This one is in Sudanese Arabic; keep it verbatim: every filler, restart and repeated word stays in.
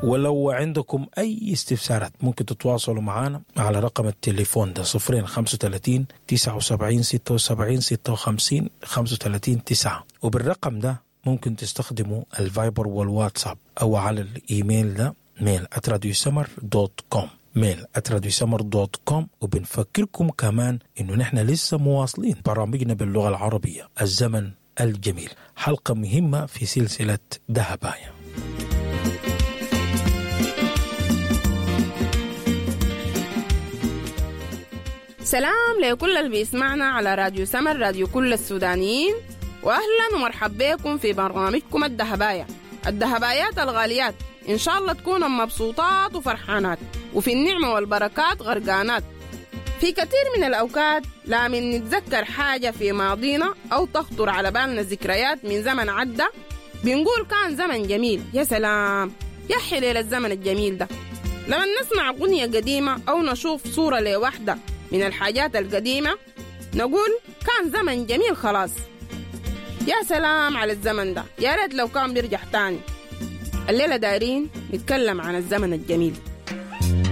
ولو عندكم أي استفسارات ممكن تتواصلوا معنا على رقم التليفون ده صفرين خمسة وتلاتين تسعة وسبعين ستة وسبعين ستة وخمسين خمسة وتلاتين تسعة، وبالرقم ده ممكن تستخدموا الفايبر والواتساب أو على الإيميل ده mail at راديو سمر dot com، mail at راديو سمر dot com. وبنفكركم كمان إنه نحن لسه مواصلين برامجنا باللغة العربية الزمن الجميل، حلقة مهمة في سلسلة دهبايا. سلام لكل اللي بيسمعنا على راديو سمر، راديو كل السودانيين، واهلا ومرحبا بكم في برنامجكم الدهبايا. الدهبايات الغاليات ان شاء الله تكونوا مبسوطات وفرحانات وفي النعمة والبركات غرقانات. في كثير من الأوقات لا من نتذكر حاجة في ماضينا أو تخطر على بالنا ذكريات من زمن عدى بنقول كان زمن جميل، يا سلام يا حليل الزمن الجميل ده. لما نسمع أغنية قديمة أو نشوف صورة لوحدة من الحاجات القديمة نقول كان زمن جميل خلاص، يا سلام على الزمن ده، يا ريت لو كان بيرجع تاني. الليلة دايرين نتكلم عن الزمن الجميل.